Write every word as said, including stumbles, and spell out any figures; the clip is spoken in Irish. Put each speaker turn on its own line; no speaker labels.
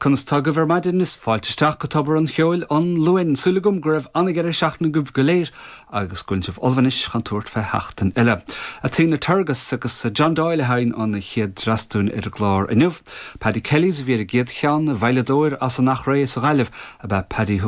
Conas tá agaibh ar maidin is fáilte isteach go Tobar an Cheoil an Luain súil agam go raibh an-deireadh seachtaine agaibh go léir agus go bhfuil sibh ullamh anois chun tabhairt fé sheachtain eile. Athena Tergis agus John Doyle a sheinn an chéad dreas dúinn ar an gclár inniu. Paddy Kelly's a bhí ar an gcéad cheann veidhleadóir as an Achréidh sa Ghaillimh ab ea Paddy thug